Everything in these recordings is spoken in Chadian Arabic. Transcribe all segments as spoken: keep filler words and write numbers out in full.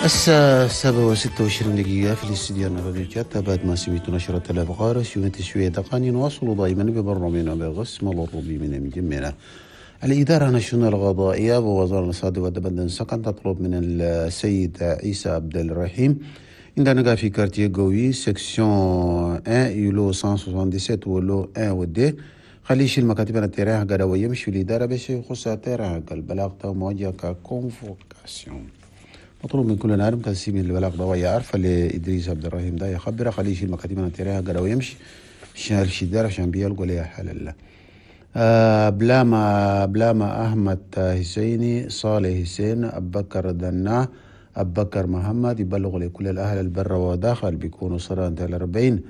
الساعة سبعة وستة وعشرين دقيقة في الاستديو الراديو تشات. بعد ما سمعتوا نشرة الأخبار سمعت شوية دقاني، نواصل دائما ببرنامجنا بقسم الأوروبي من مجمعنا. الإدارة الناشونال القضائية ووزارة الاقتصاد والدبل سكن تطلب من السيد عيسى عبد الرحيم عندنا في quartier قوي section واحد îlot مية سبعة وسبعين و lot واحد و deux، خليه يشيل مكاتب ال terrain حقه ويمشي في الإدارة باش يخص ال terrain حق البلاغ موجه ك convocation. مطلوب من كل نادم كان من البلاغ ده ويعرف لإدريس عبد الرحيم ده يخبره خليه يشيل مكاتب ال terrain حقه ويمشي شال شدار عشان بيلقوا ليه حل الله. آه بلاما بلاما أحمد حسيني صالح حسين أبو بكر دنا أبو بكر محمد يبلغ لكل الأهل البر وداخل بيكونوا صرانة الأربعين.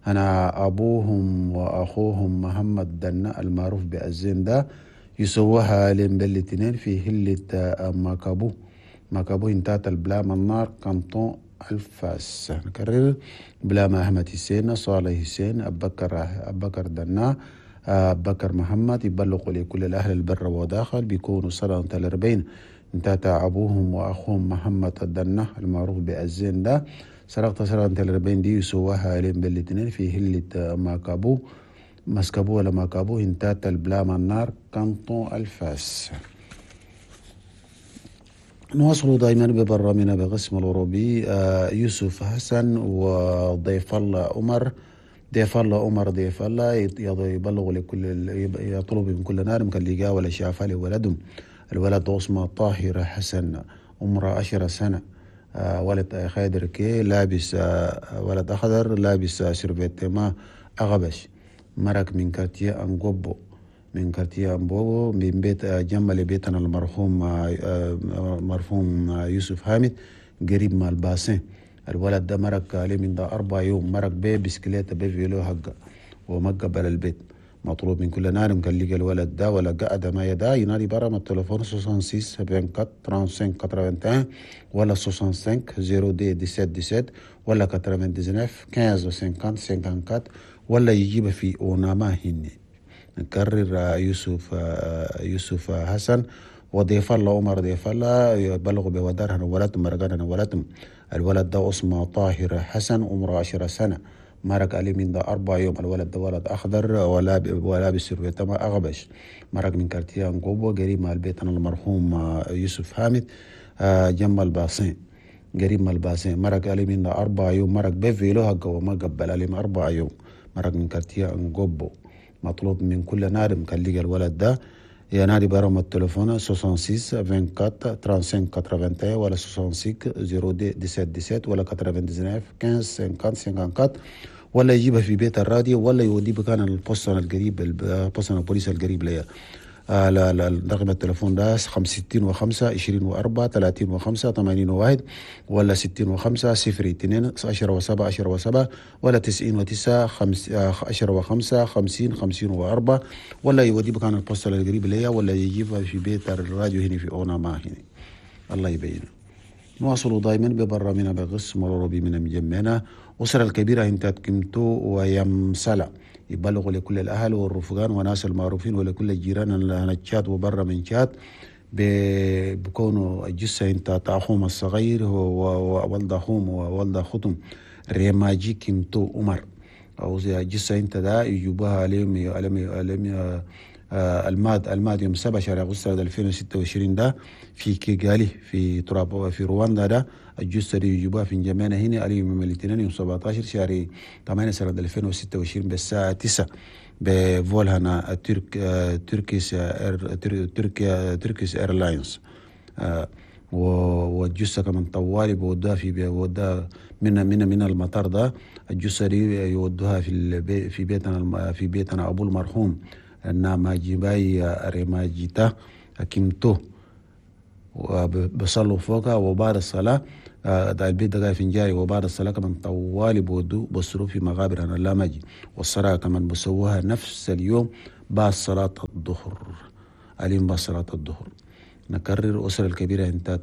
أنا أبوهم وأخوهم محمد دنا المعروف بأزين ده يسووها لهم بالاثنين في هلة ماكابو ماكابو انتات البلاما النار canton الفاس. نكرر بلاما أحمد حسين صالح حسين أبو بكر أبو بكر دنا بكر محمد يبلغوا لكل الأهل البر وداخل بيكونوا سنة الأربعين. انتاتا أبوهم وأخوهم محمد الدنة المعروف بأزين ده سرقت سنة الأربعين دي يسواها لهم بالاثنين في هلة ماكابو مسكابو ولا ماكابو انتاتا البلاما النار canton الفاس. نواصل دائما ببرنامجنا بقسم الأوروبي. يوسف حسن وضيف الله عمر ضيف الله عمر ضيف الله يبلغ لكل يطلب من كل نار كان لقاه ولا شافه لولدهم. الولد اسمه طاهر حسن عمره عشر سنة، ولد خادر كي لابس ولد أخضر لابس survêtement أغبش، مرق من quartier أنقبو من quartier أنبوبو من بيت جنب لبيتنا المرحوم مرحوم يوسف حامد قريب مع ال bassin. الولد ده مرق عليه من ده أربع يوم، مرق بيه بسكليت بيه vélo حقه وما قبل البيت. مطلوب من كل نار كان لقى الولد ده ولا قعد ما يدا ينادي برا من التليفون ستة وستين أربعة وأربعين خمسة وثلاثين واحد وعشرين ولا خمسة وستين صفر دي سبعة سبعة ولا تسعة وتسعين خمسة عشر خمسة وأربعين ولا يجيب في أوناما هني. نكرر يوسف يوسف حسن وضيف الله عمر ضيف الله يبلغ بودارها ولدهم مرقانا ولدهم. الولد ده اسمه طاهر حسن عمره عشر سنة، مرق عليه من ده أربع يوم. الولد ده ولد أخضر ولا ولابس survêtement أغبش، مرق من quartier أنقوبو قريب مع البيت المرحوم يوسف حامد جنب ال bassin قريب مع ال bassin. مرق عليه من ده أربع يوم، مرق ب vélo حقه وما قبل عليه أربع يوم، مرق من quartier أنقوبو. مطلوب من كل نادم كان لقى الولد ده ينادي برقم التليفون ستة وستين أربعة وأربعين خمسة وثلاثين واحد وعشرين ولا ستة وستين صفر سبعة سبعة ولا تسعة وتسعين خمسة عشر خمسة خمسة أربعة ولا يجيبها في بيت الراديو ولا يوديه بكان ال poste القريب ال poste البوليس القريب ليا. آه لا لا رقم التليفون ده ستين وخمسة عشرين وأربعة ثلاثين وخمسة ثمانين وواحد ولا ستين وخمسة صفر اثنين عشرة وسبعة عشرة وسبعة ولا تسعين وتسعة خمس عشرة وخمسة خمسين خمسين وأربعة ولا يودي بكان ال poste القريب ليا ولا يجيبها في بيت الراديو هنا في أونا ما هنا. الله يبينه. نواصل دائما ببرنامجنا بقسم الأوروبي من مجمعنا. أسرة الكبيرة انتات كمتو ويمسلا يبلغ لكل الأهل والرفقان وناس المعروفين ولكل الجيران اللي تشاد وبرا من تشاد بكونوا الجثة انت أخوهم الصغير وولد أخوهم وولد أختهم ريماجي كمتو عمر أو الجثة انت ده يجيبوها عليهم عليهم عليهم الماد الماد يوم سبعة شهر أغسطس ألفين وستة وعشرين ده في كيغالي في تراب في رواندا ده الجثة دي يجيبوها في جمعنا هنا على يوم الاثنين يوم سبعة عشر شهر ثمانية سنة ألفين وستة وعشرين بالساعة تسعة ب vol هنا ترك Turkish تركيا Turkish Airlines. والجثة كمان طوالي بودوها في بودوها من من من المطار ده الجثة دي يودوها في في بيتنا في بيتنا أبو المرحوم ناماجيباي ريماجيتا كيمتو وبصلوا فوقها وبعد الصلاة ده البيت ده في جاري وبعد الصلاة كمان طوالي بودو بصروا في مغابر أنا لاماجي والصلاة كمان بسووها نفس اليوم بعد صلاة الظهر اليوم بعد صلاة الظهر. نكرر أسرة الكبيرة انت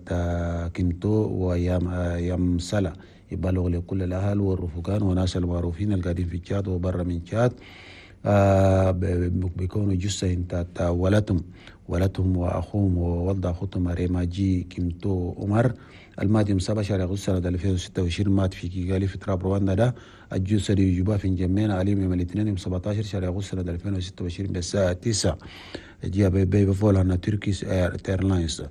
كيمتو ويام يام سلا يبلغ لكل الأهل والرفقان وناس المعروفين القاعدين في تشاد وبرا من تشاد آه بيكونوا جثة انت ولدهم ولدهم وأخوهم وولد أخوتهم ريماجي كيمتو عمر المات يوم سبعة شهر أغسطس سنة ألفين وستة وعشرين مات في كيغالي في تراب رواندا. ده الجثة دي يجوبها في نجمينا عليهم يوم الاثنين يوم سبعة عشر شهر أغسطس سنة ألفين وستة وعشرين بالساعة تسعة جاء بيفول على تركيش ايرلاينز.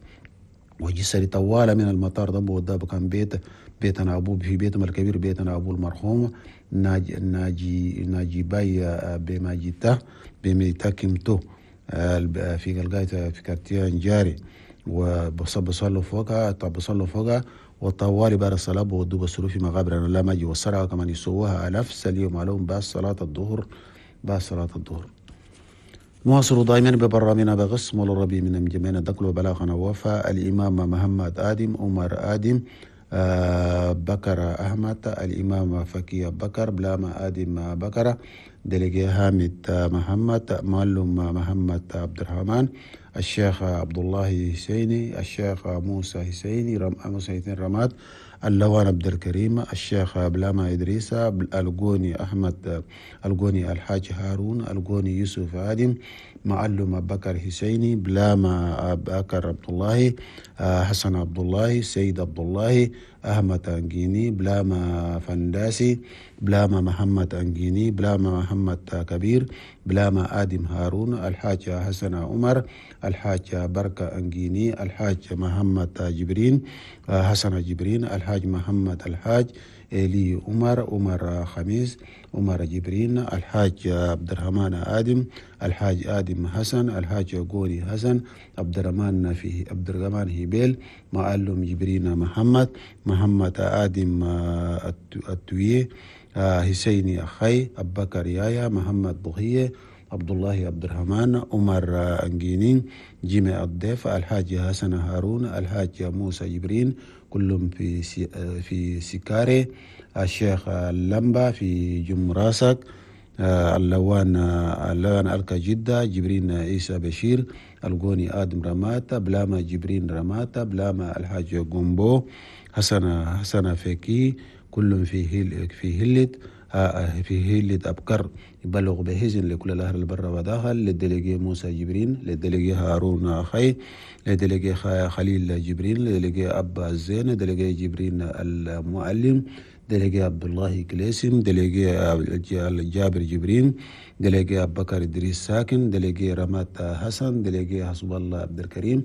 وجثة طوالة من المطار ده وده كان بيت بيتنا أبوه في بيتهم الكبير بيتنا أبوه المرحوم ناجي ناجي ناجي باي بماجيتا بميتا كيمتو في قلقاية في كارتيان جاري وبصلوا فوقها طب بصلوا فوقها وطوالي بعد الصلاة بودوا بصلوا في مقابر لا ما جي والصلاة كمان يسووها نفس اليوم عليهم بعد صلاة الظهر بعد صلاة الظهر. نواصل دائما ببرامجنا بقسم الربي من جميعنا دقل وبلاغنا وفاء الإمام محمد آدم عمر آدم آه بكر أحمد الإمام فكي بكر بلاما آدم بكر دلقي حامد محمد معلم محمد عبد الرحمن الشيخ عبد الله حسيني الشيخ موسى حسيني رم موسى حسين رماد اللوان عبد الكريم الشيخ بلاما إدريس القوني أحمد القوني الحاج هارون القوني يوسف آدم معلم بكر حسيني بلاما بكر عبد الله حسن عبد الله سيد عبد الله أحمد أنجيني بلاما فنداسي بلاما محمد أنجيني بلاما محمد كبير بلاما آدم هارون الحاج حسن عمر الحاج بركة أنجيني الحاج محمد جبرين حسن جبرين الحاج محمد الحاج إلي عمر عمر خميس عمر جبرين الحاج عبد الرحمن آدم الحاج آدم حسن الحاج غوري حسن عبد الرحمن في عبد الرحمن هبيل معلم جبرين محمد محمد آدم التويه حسيني أخي أبو بكر يايا محمد بغية عبد الله عبد الرحمن عمر أنجينين جيمي الضيف الحاج حسن هارون الحاج موسى جبرين كلهم في في سكاري الشيخ اللمبة في جمراسك اللوان اللوان ألقى جدة جبرين عيسى بشير القوني آدم رماتا بلاما جبرين رماتا بلاما الحاج جومبو حسن حسن فكي كلهم في هيل في هلت في هيلة أبكر يبلغ بهزن لكل الأهل البر وداخل للدليجي موسى جبرين للدليجي هارون أخي للدليجي خليل جبرين للدليجي أبا الزين للدليجي جبرين المعلم دليجي عبد الله كليسم دليجي جابر جبرين دليجي أبو بكر إدريس ساكن دليجي رمات حسن دليجي حسب الله عبد الكريم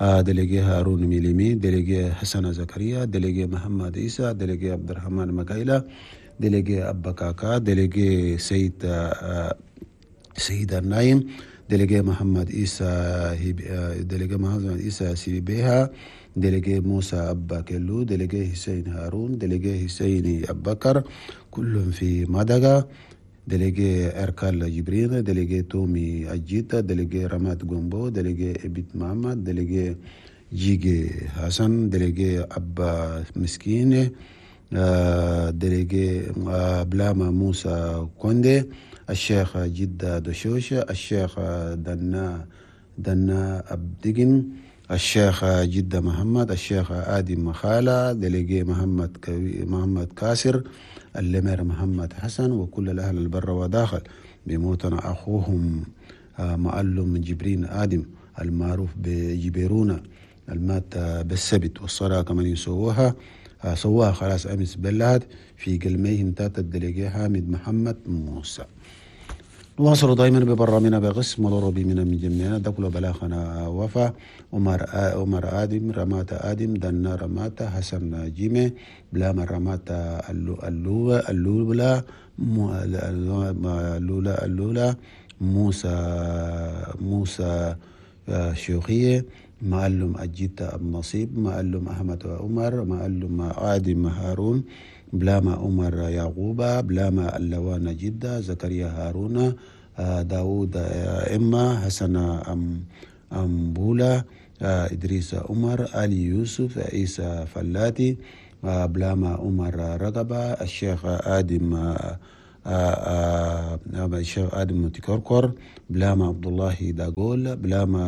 دليجي هارون ميليمي دليجي حسن زكريا دليجي محمد عيسى دليجي عبد الرحمن مكايلة دليجي أبا كاكا دليجي سيد سيد النايم دليجي محمد عيسى دليجي محمد عيسى سيبيها دليجي موسى أبا كيلو دليجي حسين هارون دليجي حسين أبو بكر كلهم في مدغا دليجي أركال جبرين دليجي تومي أجيتا دليجي رمات جومبو دليجي إبيت محمد دليجي جيجي حسن دليجي أبا مسكين دليجي بلاما موسى كوندي الشيخ جدة دشوش الشيخ دنا دنا أبدقن الشيخ جدة محمد الشيخ آدم مخالة دليجي محمد كوي محمد كاسر اللمير محمد حسن وكل الأهل البر وداخل بموتنا أخوهم معلم جبرين آدم المعروف بجبيرونا المات بالسبت والصلاة كمان يسووها سواها خلاص أمس بلاد في قلميهم تاتا الدليجي حامد محمد موسى. نواصل دائما ببرامجنا بقسم العربي من من جميعنا دخل بلاغنا وفا عمر عمر آدم رمات آدم دنا رمات حسن جيمي بلاما رمات اللولا اللولا اللولا اللولا موسى موسى شيوخية معلم أجيتا أبو نصيب معلم أحمد عمر معلم آدم هارون بلاما عمر يعقوبة بلاما اللوان جدة زكريا هارون داود إما حسن أم أمبولا إدريس عمر علي يوسف عيسى فلاتي بلاما عمر رقبة الشيخ آدم الشيخ آدم تكركر بلاما عبد الله داغول بلاما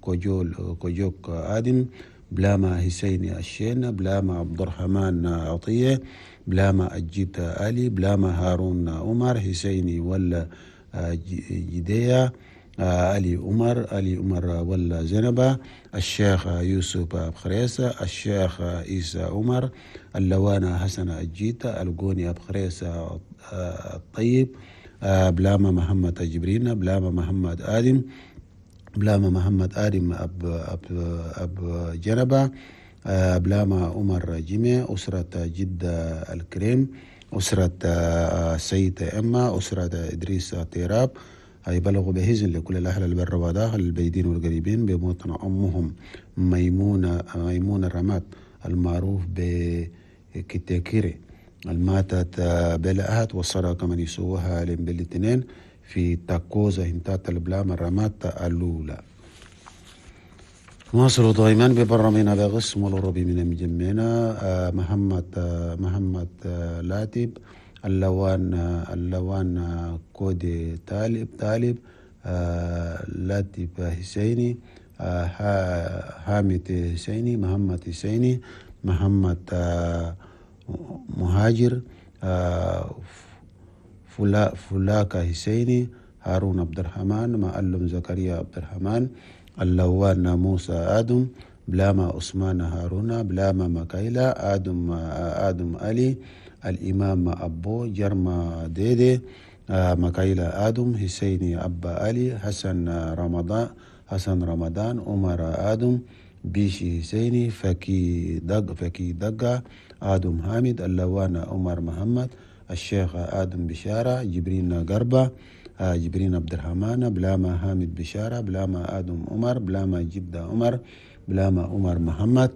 كوجول كوجوك آدم بلاما حسين الشين بلاما عبد الرحمن عطية بلاما أجيت علي بلاما هارون عمر حسيني ولا جدية علي عمر علي عمر ولا زنبة، الشيخ يوسف أبخريسة، الشيخ عيسى عمر، اللوانة حسن الجيتة، القوني أبخريسة الطيب، بلاما محمد جبرين، بلاما محمد آدم، بلاما محمد آدم أب أب أب جنبة، بلاما عمر جمع، أسرة جدة الكريم، أسرة سيد أما، أسرة إدريس تيراب. يبلغوا بهزن لكل الأهل البر وداخل البيدين والقريبين بموطن أمهم ميمونة ميمونة الرماد المعروف بكتاكيري الماتت بلأهت والصدقة من يسوها بالاثنين في تاكوزا هنتات البلام الرماد الأولى. نواصل دائما ببرامجنا بقسم الأوروبي من مجمعنا محمد محمد لاتب، اللوان اللوان كودي طالب طالب لاتب حسيني، حامد حسيني، محمد حسيني، محمد مهاجر، فلا فلاكا حسيني، هارون عبد الرحمن، معلم زكريا عبد الرحمن، اللوان موسى آدم، بلاما عثمان هارون، بلاما مكايلا آدم آدم علي، الإمام أبو جرما ديدي، مكايلا آدم، حسيني أبا علي، حسن رمضان حسن رمضان، عمر آدم، بيشي حسيني، فكي دق فكي دقة، آدم حامد، اللوان عمر محمد، الشيخ آدم بشارة، جبرين قربة، جبرين عبد الرحمن، بلاما حامد بشارة، بلاما آدم عمر، بلاما جدة عمر، بلاما عمر محمد،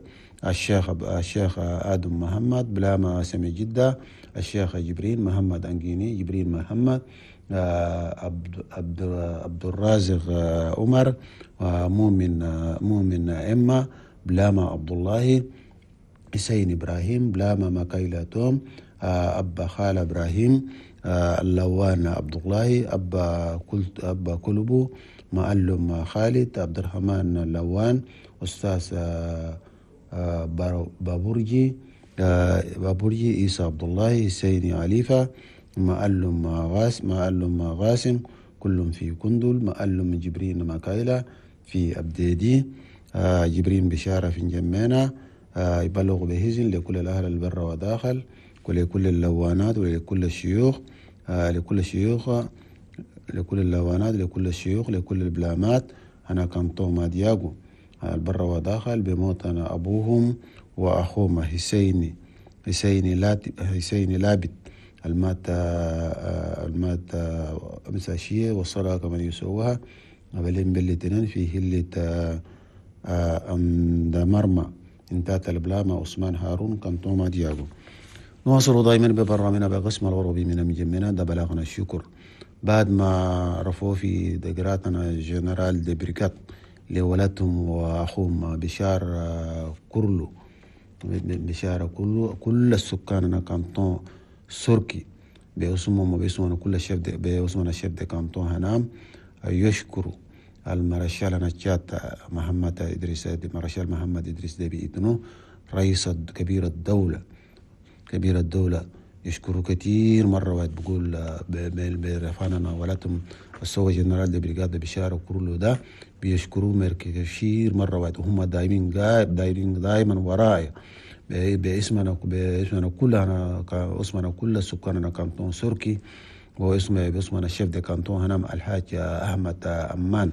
الشيخ الشيخ آدم محمد، بلاما سمي جدة، الشيخ جبرين محمد أنجيني، جبرين محمد، عبد عبد عبد الرازق عمر، مؤمن مؤمن إما، بلاما عبد الله، حسين إبراهيم، بلاما مكايلا توم، أبا خال إبراهيم، اللوان عبد الله، أبا كلت أبا كلبو، معلم خالد عبد الرحمن اللوان، أستاذ بابورجي بابورجي، عيسى عبد الله، حسين عليفة، معلم غاس معلم غاسم، كلهم في كندل، معلم جبرين مكايلة في أبديدي، جبرين بشارة في جمانة. يبلغ بهزن لكل الأهل البر وداخل، ولكل اللوانات، ولكل الشيوخ، لكل الشيوخ، لكل اللوانات، لكل الشيوخ، لكل البلامات. أنا كانتو مادياغو البر وداخل بموتنا أبوهم وأخوهم حسيني حسيني لات حسيني لابت المات المات مساشية والصلاة كمان يسوها قبلين بالتنين في هلة أم مرمى انتات البلامة عثمان هارون كانتو مادياغو. نواصل دائما ببرنامجنا بقسم الأوروبي من مجمعنا ده بلغنا الشكر بعد ما رفعوا في دقراتنا général de brigade لولدهم وأخوهم بشار كرلو بشارة كله كل السكان canton سوركي باسمهم وباسمنا كل ال chef de باسمنا ال chef de canton هنام يشكروا المارشال نجات محمد إدريس مارشال محمد إدريس ديبي إتنو رئيس كبير الدولة كبير الدولة يشكروا كثير مرة واحد بقول برفعنا ولاتهم السوا général de brigade بشارة كرلو ده بيشكروا كثير مرة واحد وهم دايمين دايرين دايما وراي باسمنا باسمنا كلنا اسمنا كل سكاننا canton سوركي واسم باسمنا ال chef de canton هنام الحاج أحمد أمان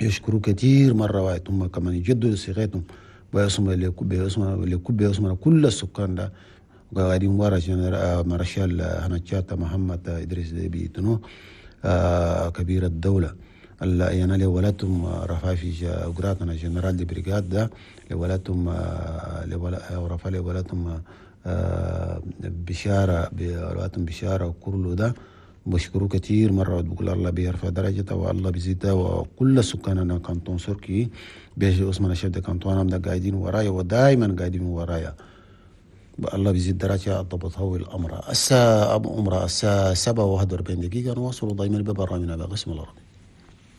يشكروا كثير مرة واحد هم كمان يجدوا صيغتهم باسم باسم باسمنا كل السكان ده قاعدين ورا مارشال هنتشاتا محمد إدريس ديبي إتنو كبير الدولة يعني لولاتهم رفع في أجراتنا général de brigade ده لولاتهم رفع لولاتهم بشارة بولاتهم بشارة وكله ده بشكره كثير مرة بقول الله بيرفع درجته والله بيزيدها وكل سكاننا canton سوركي بيجي اسمنا chef de canton ده قاعدين ورايا ودائما قاعدين ورايا الله بيزيد درجة الضبط هو الأمر الساعة أبو عمرة الساعة سبعة وواحد وأربعين دقيقة نواصل دائما ببرنامجنا بقسم العربي.